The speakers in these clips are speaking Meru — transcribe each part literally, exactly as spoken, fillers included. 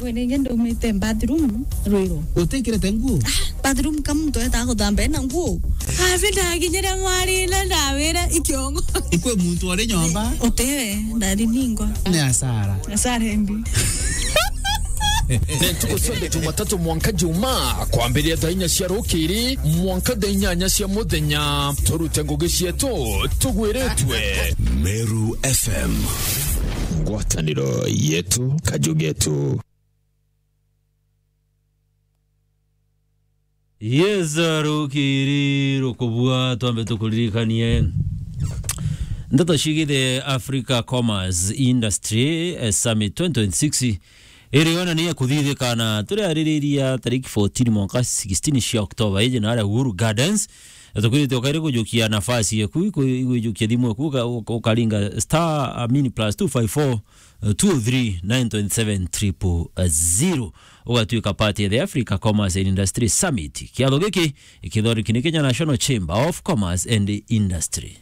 We ningi ndaumite bathroom rwiro. Utikirite nguo? Ah, bathroom ka muntu etaga guthamba ena nguo. Avi ndakinyire mwari na ndawira ikiongo. Ikwe muntu ari nyomba? Utiwe, ndariningwa. Ni asara. Asara embi. Ni ntuku cionthe Jumatatu mwanka Jumaa, kwambiria thaa inya cia rukiri mwanka thaa inyanya cia muthenya, turute ngugi cietu tugwiritwe. Meru F M. Ngwataniro yetu, kaju getu. Yes, rukiri rukubua, twambe tukuririkanie ndeto cigithi Africa Commerce Industry, eh, Summit twenty twenty-six, iri yonania kuthithikana turiaririria tariki fourteen mwanka sixteen cia October, iji naria Uhuru Gardens. Tukwirite ukairi kujukia nafasi yaku, iku-, igwijukia thimu yaku, uka-, uka-, ukaringa star, I mean, plus two five four, two oh three, nine twenty-seven, triple zero. Ugatuika part ya the Africa Commerce and Industry Summit. Kiatho giki ikithoriki ni Kenya National Chamber of Commerce and Industry.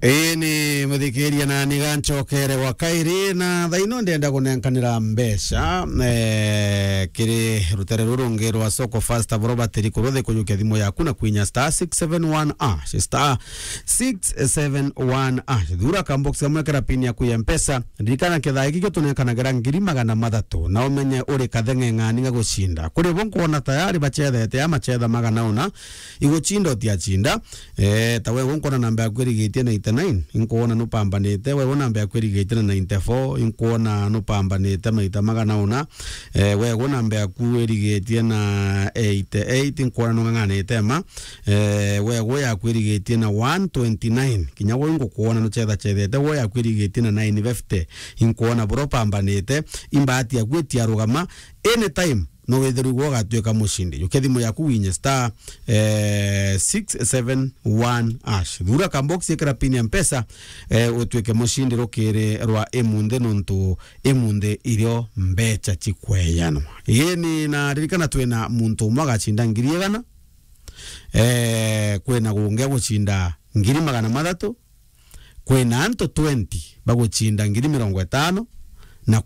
Ii ni muthikiria na ni ganchokere gwa kairi, na thaino ndenda kunenkanira mbeca, eh, kiri rutere ruru rungi rwa Soko Fasta Property, kuruthi kujukia thimu yaku na kwinya star six seven one hash, star six seven one hash. Thura ka box kamwe kara pin yaku ya Mpesa. Ririkana kethaa giki kio tunenkanagira ngiri magana mathatu, na umenye uri katheng'eng'ani ga gucinda. Kuri bo nkwona tayari bachethete ya machetha magana una, iguchinda utiachinda. Eh, ta we nkwona namba yaku irigitie ninety-nine, inkwona nupambanite. We namba yaku irigitie na ninety-four, inkwona nupambanite maita magana una. Eh, we namba yaku irigitie na eighty-eight, inkwona nung'ang'anite ma. Eh, we yaku irigitie na one twenty-nine, kinya we ngukwona nuchethachethete. We yaku irigitie na nine fifty, inkwona buro pambanite. Imbati yaku itiarugama. Anytime no withirwe igwe ugatuika mucindi. Jukia thimu yaku winye star, eh, six seven one hash. Thura ka box, ikira pin ya Mpesa, eh, utuike mucindi rukiri rwa imunthi, nontu imunthi irio mbecha cikweyanwa. Ii ni na ririkana twina muntu umwe agacinda ngiri igana, eh, kwina gungi agucinda ngiri magana mathatu, kwina antu twenty bagucinda ngiri mirongo itano, na